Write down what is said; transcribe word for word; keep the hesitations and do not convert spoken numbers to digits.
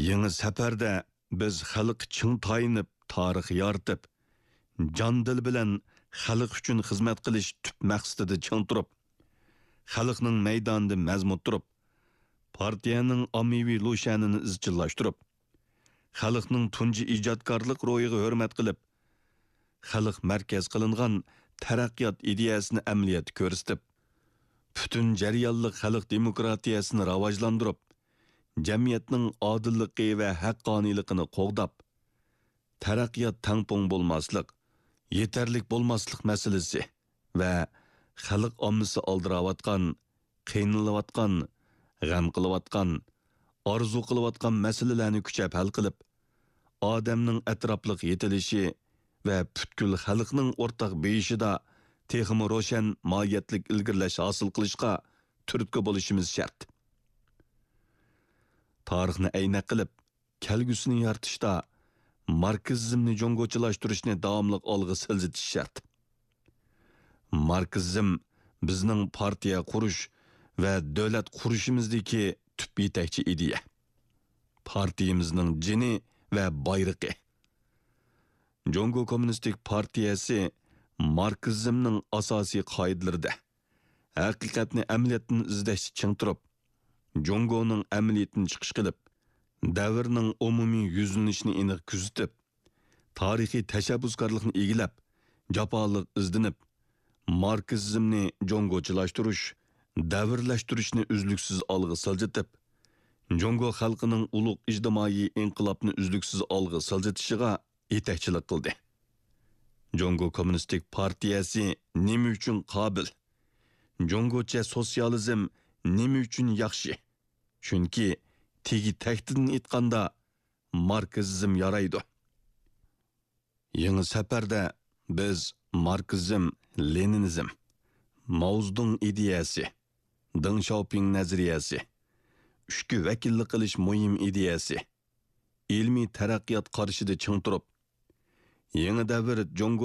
يېڭى سەپەردە بىز خەلققە چىڭ تايىنىپ، تارىخ يارىتىپ، جان-دىل بىلەن خەلق ئۈچۈن خىزمەت قىلىش تۈپ مەقسىتىدە چىڭ تۇرۇپ، خەلقنىڭ مەيدانىدا مەزمۇت تۇرۇپ، پارتىيەنىڭ ئاممىۋى لۇشيەنىنى ئىزچىللاشتۇرۇپ، خەلقنىڭ تۇنجى ئىجادكارلىق روھىغا ھۆرمەت قىلىپ، خەلق مەركەز قىلىنغان تەرەققىيات ئىدىيەسىنى ئەمەلىيەتتە كۆرسىتىپ، پۈتۈن جەريانلىق خەلق دېموكراتىيەسىنى راۋاجلاندۇرۇپ، جەمئىيەتنىڭ ئادىللىقى ۋە ھەققانىيلىقىنى قوغداپ، تەرەققىيات تەڭپۇڭ بولماسلىق، يېتەرلىك بولماسلىق مەسىلىسى ۋە خەلق ئاممىسى ئالدىراۋاتقان، قىينىلىۋاتقان، غەم قىلىۋاتقان، ئارزۇ قىلىۋاتقان مەسىلىلەرنى كۈچەپ ھەل قىلىپ، ئادەمنىڭ ئەتراپلىق يېتىلىشى ۋە پۈتكۈل خەلقنىڭ ئورتاق بېيىشىدا تېخىمۇ روشەن ماھىيەتلىك ئىلگىرىلەش ھاسىل قىلىشقا تۈرتكە بولۇشىمىز شەرت. تارىخنى ئەينەك قىلىپ، كەلگۈسىنى يارىتىشتا ماركسىزمنى جۇڭگوچىلاشتۇرۇشنى داۋاملىق ئالغا سىلجىتىش شەرت. ماركسىزم بىزنىڭ پارتىيە قۇرۇش ۋە دۆلەت قۇرۇشىمىزدىكى تۈپ يېتەكچى ئىدىيە. پارتىيىمىزنىڭ جېنى ۋە بايرىقى. جۇڭگو كوممۇنىستىك پارتىيەسى ماركسىزمنىڭ ئاساسىي قائىدىلىرىدە، ھەقىقەتنى ئەمەلىيەتتىن ئىزدەشتە چىڭ تۇرۇپ، جۇڭگونىڭ ئەمەلىيىتىدىن چىقىش قىلىپ، دەۋرنىڭ ئومۇمىي يۈزلىنىشىنى ئېنىق كۆزىتىپ، تارىخىي تەشەببۇسكارلىقنى ئىگىلەپ، جاپالىق ئىزدىنىپ، ماركسىزمنى جۇڭگوچىلاشتۇرۇش، دەۋرلەشتۈرۈشنى ئۈزلۈكسىز ئالغا سىلجىتىپ، جۇڭگو خەلقىنىڭ ئۇلۇغ ئىجتىمائىي ئىنقىلابنى ئۈزلۈكسىز ئالغا سىلجىتىشىغا يېتەكچىلىك قىلدى. جۇڭگو كوممۇنىستىك پارتىيەسى نېمە ئۈچۈن قابىل؟ جۇڭگوچە سوتسىيالىزم نېمە ئۈچۈن ياخشى؟ چۈنكى تېگى تەكتىدىن ئېيتقاندا، ماركسىزم يارايدۇ. يېڭى سەپەردە بىز ماركسىزم، لېنىنىزم، ماۋزېدۇڭ ئىدىيەسى، دېڭ شياۋپىڭ نەزەرىيەسى، ئۈچكە ۋەكىللىك قىلىش مۇھىم ئىدىيەسى، ئىلمىي تەرەققىيات قارىشىدا چىڭ تۇرۇپ، يېڭى دەۋر جۇڭگو